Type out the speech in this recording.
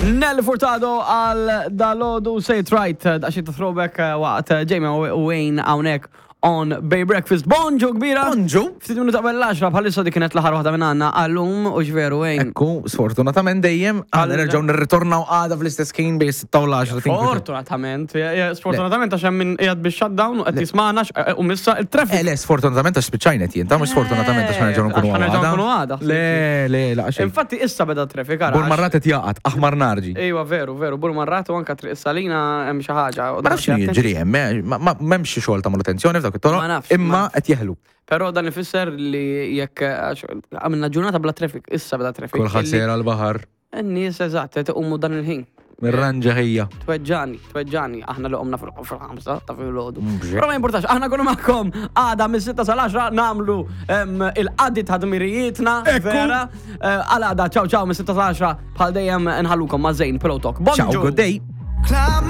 Nelly Furtado għal dalodu Say It Right, daqsxejn ta' throwback eh, waqt eh, Jamie u Wayne hawnhekk on Bay Breakfast. Bonġu kbira! Bonġu! Ftit minuta qabel l-10 bħalissa dik kienet l-aħħar waħda minn għandna għallum u x'veru Wayne. Ekku, sfortunatament dejjem, għal nerġgħu nirritornaw għada fl-istess ħin bejn 6 u l-10. Fortunatament, sfortunatament għax hemm min qiegħed bix shutdown u qed jismagħna eh, u missa il-traffic. Eh, le, sfortunatament għax spiċċajnet jien, ta' mhux sfortunatament għax ħanerġgħu nkunu għada. nkunu għada. Le, le, la xejn. Infatti issa beda traffic ara. Burmarrat qed jaqgħad, aħmar narġi. Ejwa veru, veru, Burmarrat u anka Triq Salina hemm xi ħaġa. Ma nafx x'inhu jiġri hemm, eh, m'hemmx xi xogħol ta' manutenzjoni f'dawk it-toroq, imma qed jeħlu. Però dan ifisser li jekk għamilna ġurnata bla traffic, issa bla traffic. Kulħadd sejra l-baħar. In-nies eżatt qed iqumu dan il-ħin. Mirranġa ħija. Tweġġani, tweġġani, aħna li qomna fil-ħamsa ta' fil-ħodu. Però ma importax, aħna kunu magħkom għada mis-6 sal-10 nagħmlu il-qadi ta' dmirijietna. Vera. Eh, għal għada, ciao ciao, mis-6 sal-10 bħal dejjem nħallukom ma' Zejn Pillow Talk. Ciao, good day.